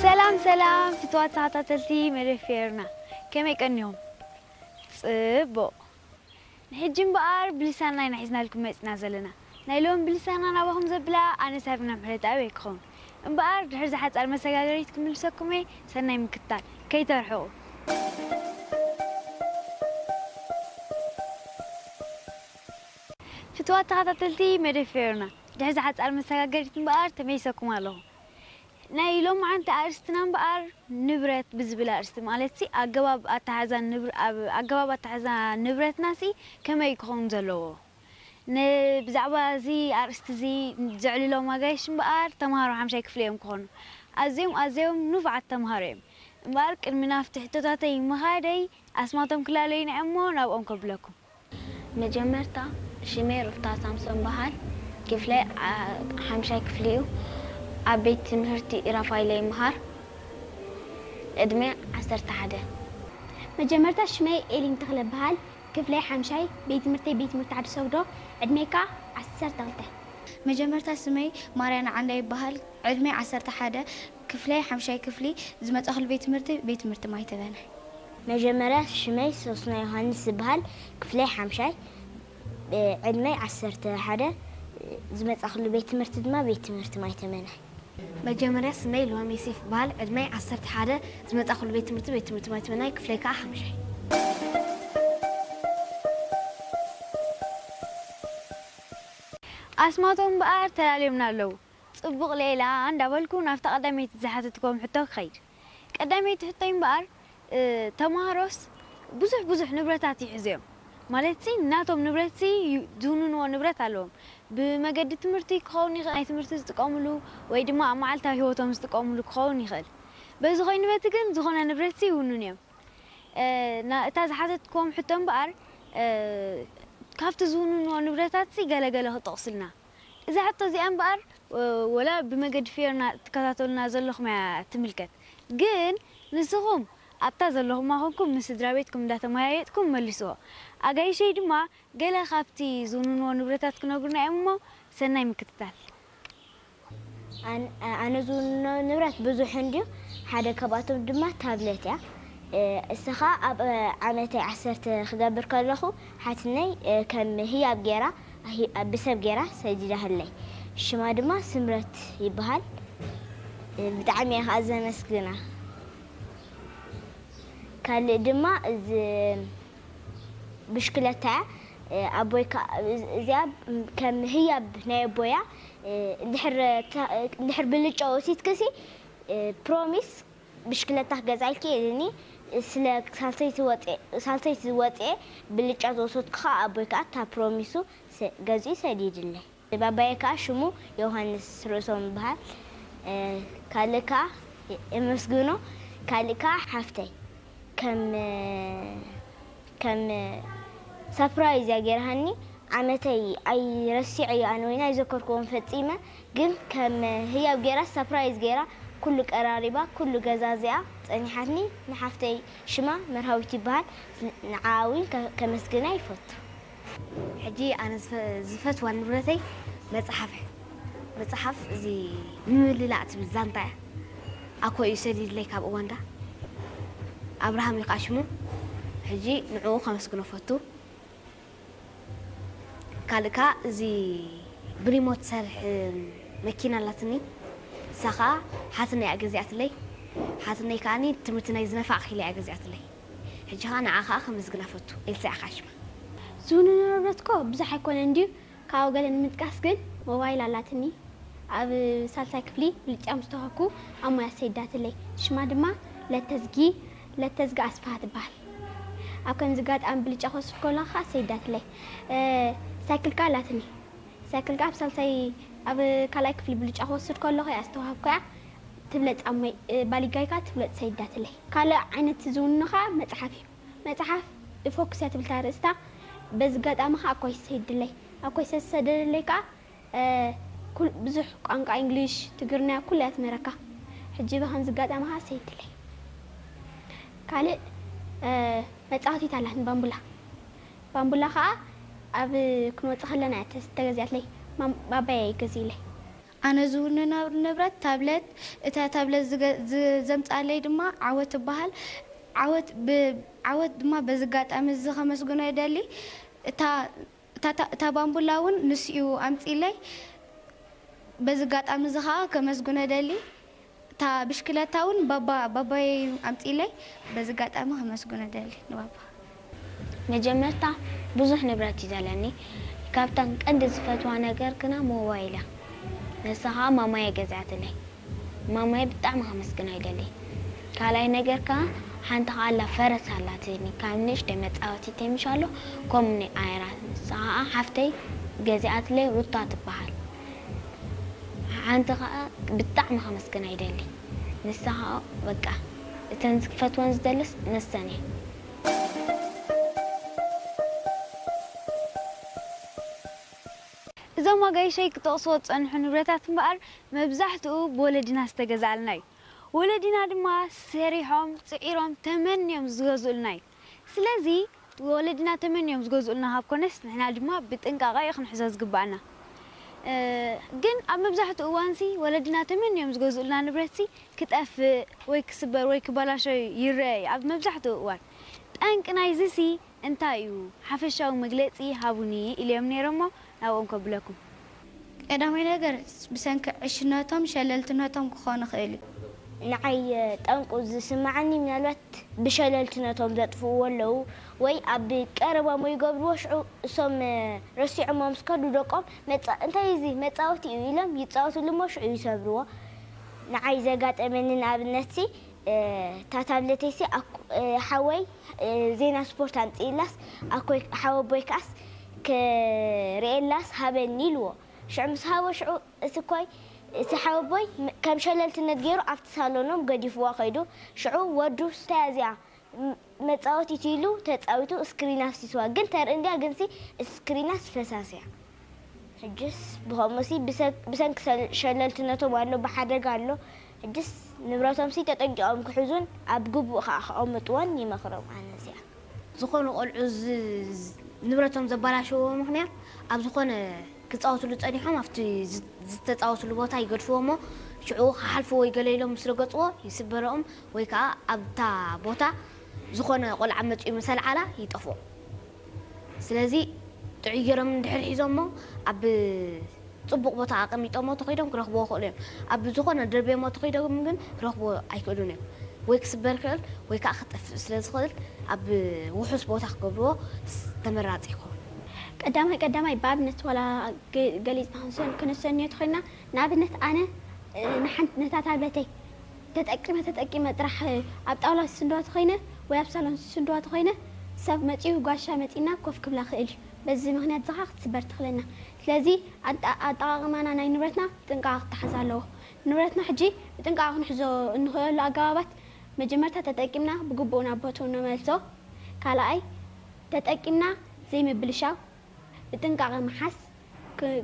ሰላም ሰላም ፍትዋት ተኸታተልቲ መደብ ፌርና፣ ከመይ ቀኒኹም? ጽቡቕ። ንሕጂ እምበኣር ብልሳንና ኢና ሒዝናልኩም መጺና ዘለና። ናይ ሎሚ ብልሳንና ናባኹም ዘብላ ኣነ ሳብሪና ምሕረተኣብ እየ ክኸውን። እምበኣር ድሕሪ ዝሓጻር መሰጋገሪት ክምልሰኩም እየ። ሰናይ ምክትታል። ከይተርሕቑ። ፍትዋት ተኸታተልቲ መደብ ፌርና፣ ድሕሪ ዝሓጻር መሰጋገሪት እምበኣር ተመሊሰኩም ኣለኹ። ናይ ሎማዓንቲ ኣርእስትና እምበኣር ንብረት ብዝብል ኣርእስቲ፣ ማለትሲ ኣገባብ ኣተሓሕዛ ንብር-፣ ኣብ ኣገባብ ኣተሓሕዛ ንብረትናሲ ከመይ ክኸውን ዘለዎ? ን-፣ ብዛዕባ እዚ ኣርእስቲ እዚ ዘዕልሎም ኣጋይሽ እምበኣር ተምሃሮ ሓምሻይ ክፍሊ እዮም ክኾኑ። ኣዝዮም ኣዝዮም ንፉዓት ተምሃሮ እዮም። እምበኣር ቅድሚ ናብቲ ሕቶታተይ ምኻደይ ኣስማቶም ክላለዩና እዮም እሞ ናብኦም ከብለኩም። መጀመርታ ሽመይ ሩፍታ ሳምሶን በሃል። ክፍለይ ዓ-፣ ሓምሻይ ክፍሊ እዩ። ኣብ ቤት ትምህርቲ ራፋይለ ይምሃር። ዕድመ ዓሰርተ ሓደ። መጀመርታ ሽመይ ኤሊን ተኽለ በሃል። ክፍለይ ሓምሻይ፣ ቤት ትምህርተይ ቤት ትምህርቲ ዓዲ ሰግዶ። ዕድመይ ከኣ ዓሰርተ ክልተ። መጀመርታ ስመይ ማርያና ዓንዳ ይበሃል። ዕድመይ ዓሰርተ ሓደ። ክፍለይ ሓምሻይ ክፍሊ። ዝመጻኹሉ ቤት ትምህርቲ ቤት ትምህርቲ ማይተበነ። መጀመርያ ሽመይ ሶስና ዮሃንስ ዝበሃል። ክፍለይ ሓምሻይ። እ፣ ዕድመይ ዓሰርተ ሓደ። ዝመጻኹሉ ቤት ትምህርቲ ድማ ቤት ትምህርቲ ማይተመነ። መጀመርያ ስመይ ልዋም ዮሴፍ ይበሃል። ዕድመይ ዓሰርተ ሓደ። ዝመጻኹሉ ቤት ትምህርቲ ቤት ትምህርቲ ማይተመናይ። ክፍለይ ከኣ ሓምሻይ። ኣስማቶም እምበኣር ተላልዮምና ኣለዉ። ጽቡቕ ሌላ እንዳበልኩ ናብታ ቀዳመይቲ ዝሓተትክዎም ሕቶ ክኸይድ። ቀዳመይቲ ሕቶይ እምበኣር፣ እ፣ ተምሃሮስ ብዙሕ ብዙሕ ንብረታት ይሕዙ እዮም። ማለትሲ ናቶም ንብረትሲ ዩ-፣ ዝውንንዎ ንብረት ኣለዎም። ብመገዲ ትምህርቲ ክኸውን ይኽእል፣ ናይ ትምህርቲ ዝጥቀምሉ ወይ ድማ ኣብ መዓልታዊ ህይወቶም ዝጥቀምሉ ክኸውን ይኽእል። በዚ ኮይኑ በቲ ግን ዝኾነ ንብረትሲ ይውንኑ እዮም። እ፣ ና-፣ እታ ዝሓተትክዎም ሕቶ እምበኣር፣ እ፣ ካብቲ ዝውንንዎ ንብረታትሲ ገለገለ ክጠቕሱልና። እዛ ሕቶ እዚኣ እምበኣር፣ ወ-፣ ወላ ብመገዲ ፌርና ትከታተሉና ዘለኹም እያ ትምልከት። ግን ንስኹም ኣብታ ዘለኹማ ኮንኩም ምስ ስድራ ቤትኩም እንዳተመያየጥኩም መልስዎ። ኣጋይሸይ ድማ ገለ ካብቲ ዝውንንዎ ንብረታት ክነግሩና እዮም እሞ ሰናይ ምክትታል። ኣን-፣ ኣነ ዝውንኖ ንብረት ብዙሕ እንድዩ። ሓደ ካብኣቶም ድማ ታብለት እያ። እ፣ እሳ ኸኣ ኣብ፣ እ፣ ዓመተይ ዓሰርተ ክገብር ከለኹ ሓትነይ፣ እ፣ ከም ህያብ ገይራ፣ ሂ-፣ ብሰብ ገይራ ሰዲዳትለይ። ሽማ ድማ ስምረት ይበሃል። እ፣ ብጣዕሚ እየ ኸኣ ዘመስግና። ካልእ ድማ እዚ ብሽክለታ እያ። እ፣ ኣቦይ ከኣ፣ እዚ-፣ እዚኣ ከም ህያብ ናይ ኣቦያ፣ እ፣ እንድሕር ተ-፣ እንድሕር ብልጫ ወሲድክሲ፣ እ፣ ፕሮሚስ ብሽክለታ ክገዝኣልኪ ኢሉኒ። ስለ ሳልሰይቲ ወፅኤ፣ ሳልሰይቲ ወፅኤ ብልጫ ዝወሰድኩ ከኣ ኣቦይ ከኣ እታ ፕሮሚሱ ሰ-፣ ገዚኡ ሰዲድለይ። ባባየ ከኣ ሽሙ ዮሃንስ ርእሶም ይበሃል። እ፣ ካልእ ከኣ የመስግኖ፣ ካልእ ከኣ ሓፍተይ ከም፣ ከም ሳፕራይዝ እያ ገይራሃኒ። ዓመተይ ኣይረሲዐዮ ኣነ ወይኒ ኣይዘከርክዎን ፈጺመ፣ ግን ከም ህያብ ገይራ ሳፕራይዝ ገይራ ኩሉ ቀራሪባ ኩሉ ገዛዚኣ ጸኒሓትኒ። ንሓፍተይ ሽማ መርሃዊት ይበሃል። ንዓኣ እውን ከ-፣ ከመስግና ይፈቱ። ሕጂ ኣነ ዝፈ-፣ ዝፈትዋ ንብረተይ መጽሓፍ እያ። መጽሓፍ እዚ ንምልላእ ትብል ዛንታ እያ። ኣኮ እዩ ሰዲድለይ ካብ ኡጋንዳ። ኣብርሃም እዩ ከዓ ሽሙ። ሕጂ ንዕኡ ከመስግኖ ፈቱ። ካልእ ከዓ እዚ ብሪሞት ትሰርሕ መኪና ኣላትኒ። እሳ ከዓ ሓትነይ እያ ገዚኣትለይ። ሓትነይ ከዓኒ ትምህርቲ ናይ ዝነፋዕ ክኢላ እያ ገዚኣትለይ። ሕጂ ኸኣ ንዓ ኸኣ ከመስግና ፈቱ። ኤልሳ እያ ኸኣ ሽማ። ዝውንኖ ንብረት እኮ ብዙሕ ኣይኮነን ድዩ? ካብኡ ገለ ንምጥቃስ ግን ሞባይል ኣላትኒ። ኣብ ሳልሳይ ክፍሊ ብልጫ ምስ ተዋህኩ ኣብ ሞያ ሰይዳትለይ። ሽማ ድማ ለተዝጊ፣ ለተዝጊ ኣስፍሃ ትበሃል። ኣብ ከምዚ ኣጋጣሚ ብልጫ ክወስድ ከለኹ ኸኣ ሰይዳትለይ። እ፣ ሳይክል ከኣ ኣላትኒ። ሳይክል ከኣ ኣብ ሳልሳይ፣ ኣብ ካልኣይ ክፍሊ ብልጫ ክወስድ ከለኹ እያ ዝተዋህብኩ እያ። ትብለጽ ኣብ ሞይ-፣ እ፣ ባሊጋይ ከኣ ትብለጽ ሰይዳትለይ። ካልእ ዓይነት ዝውንኖ ከኣ መጽሓፍ እዩ። መጽሓፍ ፎክስ እያ ትብል እታ ኣርእስታ። በዚ ኣጋጣሚ ከኣ ኣኮይ ሰይድለይ። ኣኮይ ዝተሰደደለይ ከኣ፣ እ፣ ኩል-፣ ብዙሕ ቋንቋ እንግሊሽ፣ ትግርኛ ኩሉ እያ ትምህረካ። ሕጂ ብኸምዚ ኣጋጣሚ ከኣ ሰይድለይ። ካልእ፣ እ፣ መጻወቲት ኣላትኒ ባምቡላ። ባምቡላ ከኣ ኣብ ክንወጽእ ከለና እያ ተስ-፣ ተገዚኣትለይ። ማም-፣ ባባየ እዩ ገዚእለይ። ኣነ ዝውንኖ ንብረት ታብለት፣ እታ ታብለት ዝገ- ዝ- ዘምጻለይ ድማ ዓወት ትበሃል። ዓወት ብ- ዓወት ድማ በዚ ኣጋጣሚ እዚ ከመስግኖ ይደሊ። እታ እታ- እታ- እታ ባምቡላ እውን ንሱ እዩ ኣምጺለይ። በዚ ኣጋጣሚ እዚ ከዓ ከመስግኖ ደሊ። እታ ብሽክለታ እውን ባባ ባባየ ኣምጺለይ። በዚ ኣጋጣሚ ከመስግኖ ደሊ ንባባ። መጀመርታ ብዙሕ ንብረት እዩ ዘለኒ። ካብተን ቀንዲ ዝፈትዋ ነገር ግና ሞባይል እያ። ንሳ ከዓ ማማየ ገዚኣትለይ። ማማየ ብጣዕሚ ከመስግና ይደሊ። ካልኣይ ነገር ከዓ ሓንቲ ከዓ ኣላ ፈረስ ኣላትኒ። ካብ ንእሽተይ መፃወቲ ቴምሽ ኣሎ ከምኡ ኣይራ። ንሳ ከዓ ሓፍተይ ገዚኣትለይ ሩታ ትበሃል። ሓንቲ ከዓ ብጣዕሚ ከመስግና ይደሊ። ንሳ ከዓ በቃ እተን ዝፈትወን ዝደልስ ነሰን እየ። እዞም ኣጋይሸይ ክጠቕስዎ ዝጸንሑ ንብረታት እምበኣር መብዛሕትኡ ብወለድና ዝተገዝኣልና እዩ። ወለድና ድማ ሰሪሖም፣ ጽዒሮም፣ ተመንዮም ዝገዝኡልና እዩ። ስለዚ ወለድና ተመንዮም ዝገዝኡልና ካብ ኮነስ ንሕና ድማ ብጥንቃቐ እዩ ክንሕዞ ዝግባኣና። እ፣ ግን ኣብ መብዛሕትኡ እዋንሲ ወለድና ተመንዮም ዝገዝኡልና ንብረትሲ ክጠፍእ ወይ ክስበር ወይ ክበላሾ ይረአ እዩ ኣብ መብዛሕትኡ እዋን። ጠንቂ ናይዚሲ እንታይ እዩ? ሓፈሻዊ መግለጺ ሃቡኒ ኢለዮም ነይሮሞ ናብኦም ከብለኩም። ቀዳማይ ነገር ብሰንኪ ዕሽነቶም ሸለልትነቶም ክኾን ይኽእል እዩ። ንዓይ ጠንቁ ዝስምዓኒ ምናልባት ብሸለልትነቶም ዘጥፍእዎ ኣለዉ ወይ ኣብ ቀረባሞ ይገብርዎ ሽዑ እሶም ረሲዖሞ ምስ ከዱ ደቆም መጻ- እንታይ እዚ መጻወቲ እዩ ኢሎም ይጻወትሉ እሞ ሽዑ ይሰብርዎ። ንዓይ ዘጋጠመኒ ንኣብነትሲ እታ ታብለተይሲ ሓወይ ዜና ስፖርት ኣምፅኢላስ ኣኮይ ሓወቦይ ከዓስ ክርእየላስ ሃበኒ ኢልዎ። ሽዑ ምስ ሃቦ ሽዑ እቲ ኮይ እቲ ሓወቦይ ከም ሸለልትነት ገይሩ ኣብቲ ሳሎኖም ገዲፍዋ ከይዱ። ሽዑ ወዱ ስታይ እዚኣ መፃወቲት ኢሉ ተፃዊቱ ስክሪን ኣፍሲስዋ። ግን ተርኢ እንድያ ግንሲ ስክሪናስ ፈሳስ እያ። ሕጅስ ብኸምኡሲ ብሰንኪ ሸለልትነቶም ኣሎ ብሓደጋ ኣሎ። ሕጅስ ንብረቶምሲ ተጠንቂቖም ክሕዙን ኣብ ግቡእ ከዓ ክቐምጥዎን ይመኽሮም። ኣነ እዚኣ ዝኾኑ ቆልዑ ንብረቶም ዘባላሸዎ ምኽንያት ኣብ ዝኾነ ክፃወትሉ ፀኒሖም ኣብቲ ዝተፃወትሉ ቦታ ይገድፍዎ እሞ ሽዑ ክሓልፍዎ ይገለ ኢሎም ምስ ረገፅዎ ይስበረኦም ወይ ከዓ ኣብታ ቦታ ዝኾነ ቆልዓ መፂኡ ምስ ኣልዓላ ይጠፍኦም። ስለዚ ጥዑይ ገይሮም እንድሕር ሒዞሞ ኣብ ፅቡቕ ቦታ ኣቐሚጦሞ ተኸይዶም ክረኽብዎ ይኽእሉ እዮም። ኣብ ዝኾነ ደርብዮሞ ተኸይዶም ግን ክረኽብዎ ኣይክእሉን እዮም። ወይ ክስበር ይኽእል ወይ ከዓ ክጠፍእ ስለ ዝኽእል ኣብ ውሑስ ቦታ ክገብርዎ ተመራፂ ይኸውን። ቀዳማይ ቀዳማይ ብኣብነት ዋላ ገሊፅና ክንሰንዮ ተኾይና ንኣብነት ኣነ ንሓንቲ ነታ ታብለተይ ተጠቂመ ተጠቂመ ጥራሕ ኣብ ጣውላ ስስንድዋ ተኾይነ ወይ ኣብ ሳሎን ስስንድዋ ተኾይነ ሰብ መፂኡ ጓሻ መፂና ኮፍ ክብላ ክእል እዩ። በዚ ምክንያት ዝኻ ክትስበር ትኽለና። ስለዚ ኣጠቃቅማና ናይ ንብረትና ጥንቃቐ ክተሓዝ ኣለዎ። ንብረትና ሕጂ ብጥንቃቐ ክንሕዞ እንኽእለሉ ኣገባባት መጀመርታ ተጠቂምና ብግቡእ ናብ ቦትኡ ነመልሶ። ካልኣይ ተጠቂምና ዘይምብልሻው ብጥንቃቐ ምሓዝ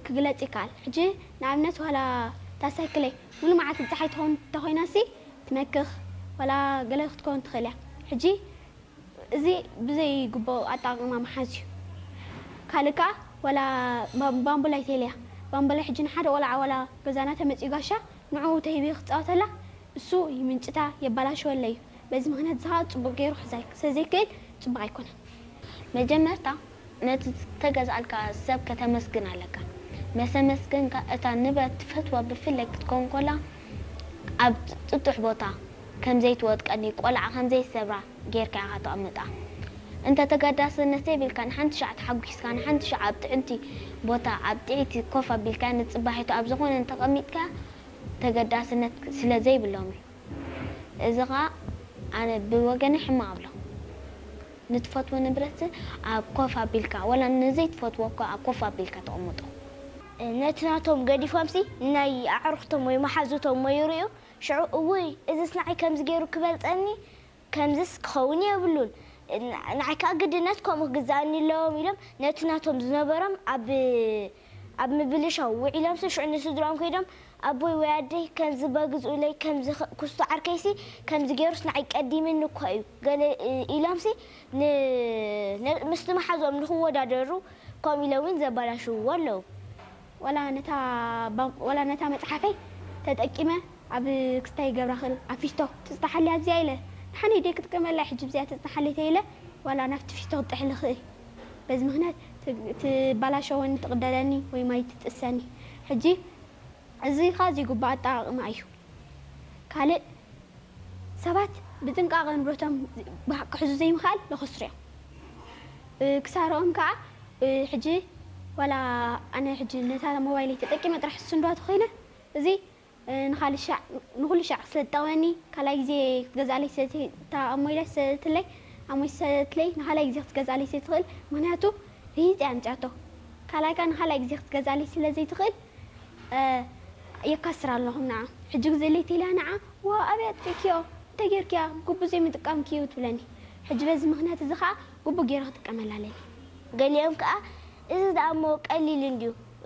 ክግለጽ ይከኣል። ሕጂ ንኣብነት ዋላ እታ ሳይክለይ ሙሉ መዓልቲ ጸሓይ ትኸውን እንተኾይናሲ ትመክኽ ዋላ ገለ ክትከውን ትኽእል እያ። ሕጂ እዚ ብዘይ ግቡእ ኣጠቓቕማ ምሓዝ እዩ። ካልእ ከኣ ዋላ ባምቡላይ ተይለያ ባምቡላይ ሕጂ ንሓደ ቆልዓ ዋላ ገዛና ተመጺኡ ጋሻ ንዕኡ ተሂቢ ክጻወተላ እሱ ይምንጭታ የባላሽወለይ እዩ። በዚ ምኽንያት እዚ ኸኣ ጽቡቕ ገይሩ ክሕዛ ስለ ዘይክእል ጽቡቕ ኣይኮነን። መጀመርታ ነቲ ዝተገዝኣልካ ሰብ ከተመስግን ኣለካ። መሰመስገንካ እታ ንብረት ትፈትዋ ብፍላይ ክትከውን ከላ ኣብ ጥጡሕ ቦታ ከም ዘይትወድቀኒ ቆልዓ ከም ዘይሰብራ ጌርካ ኢኻ ተቐምጣ። እንተ ተገዳስነት ዘይብልካ ንሓንቲ ሻዕ ተሓጒስካ ንሓንቲ ሻዕ ኣብ ጥዕንቲ ቦታ ኣብ ጥዕይቲ ኮፍ ኣቢልካ ንጽባሒቱ ኣብ ዝኾነ እንተቐሚጥካ ተገዳስነት ስለ ዘይብሎም እዩ። እዚ ኸኣ ኣነ ብወገነይ ሕማቕ እብሎ። ንትፈትዎ ንብረት ኣብ ኮፍ ኣቢልካ ወላ ንዘይትፈትዎ እኳ ኣብ ኮፍ ኣቢልካ ተቐምጦ። ነቲ ናቶም ገዲፎምሲ ናይ ኣዕሩኽቶም ወይ መሓዙቶም ወይ ይርእዩ ሽዑ እውይ እዝስ ንዓይ ከምዚ ገይሩ ክበልጸኒ ከምዝስ ክኸውን የብሉን ንዓይ ከዓ ግድነት ከምኡ ክግዛእኒ ኣለዎም ኢሎም ነቲ ናቶም ዝነበሮም ኣብ ኣብ ምብልሻው ውዒሎምሲ ሽዑ ንስድርኦም ከይዶም ኣቦይ ወይ ኣደይ ከምዚ በግዝኡለይ ከምዚ ኩስቶ ዓርከይሲ ከምዚ ገይሩስ ንዓይ ቀዲምኒ እኳ እዩ ገለ ኢሎምሲ ምስቲ መሓዝኦም ንክወዳደሩ ከምኡ ኢሎም እውን ዘባላሽውዎ ኣለዉ። ዋላ ነታ መፅሓፈይ ተጠቂመ ኣብ ክስታይ ገብራ ክእል ኣብ ፊስቶ ትፅናሓለይ ኣብዚኣ ኢለ ንሓነይ ደይ ክጥቀመላ ሕጂ ብዚኣ ትፅናሓለይ ተይለ ዋላ ናብቲ ፊስቶ ክጥሕል ክእል በዚ ምክንያት ትባላሸወኒ ትቕደደኒ ወይ ማይ ትጥሰኒ ሕጂ እዚ ካ ዘይግባእ ኣጠቃቕማ እዩ ካልእ ሰባት ብጥንቃቐ ንብረቶም ክሕዙ ዘይምኽኣል ለኸስሩ እዮም ክሳርኦም ከዓ ሕጂ ዋላ ኣነ ሕጂ ነታ ሞባይለይ ተጠቂመ ጥራሕ ስንዷ ተኮይነ እዚ ንኩሉ ሻዕ ስለ ዝጠቕመኒ ካልኣይ ግዜ ክትገዝኣለይ ስለታ ኣሞይ ስለትለይ ኣሞይ ስለትለይ ንካልኣይ ግዜ ክትገዝኣለይ ስለትኽእል ምክንያቱ ርሂፅ እያ ኣምፅኣቶ ካልኣይ ከዓ ንካልኣይ ግዜ ክትገዝኣለይ ስለ ዘይትኽእል የካስር ኣለኹም ንዓ ሕጂ ግዜ ለይተኢላ ንዓ ዋ ኣብያ ጥቂክዮ እንታይ ጌርክያ ግቡ ዘይምጥቃምክዩ ትብለኒ ሕጂ በዚ ምክንያት እዚ ከዓ ግቡ ገይረ ክጥቀመላ ኣለኒ ገሊኦም ከዓ እዚ ደኣ እሞ ቀሊል እንድዩ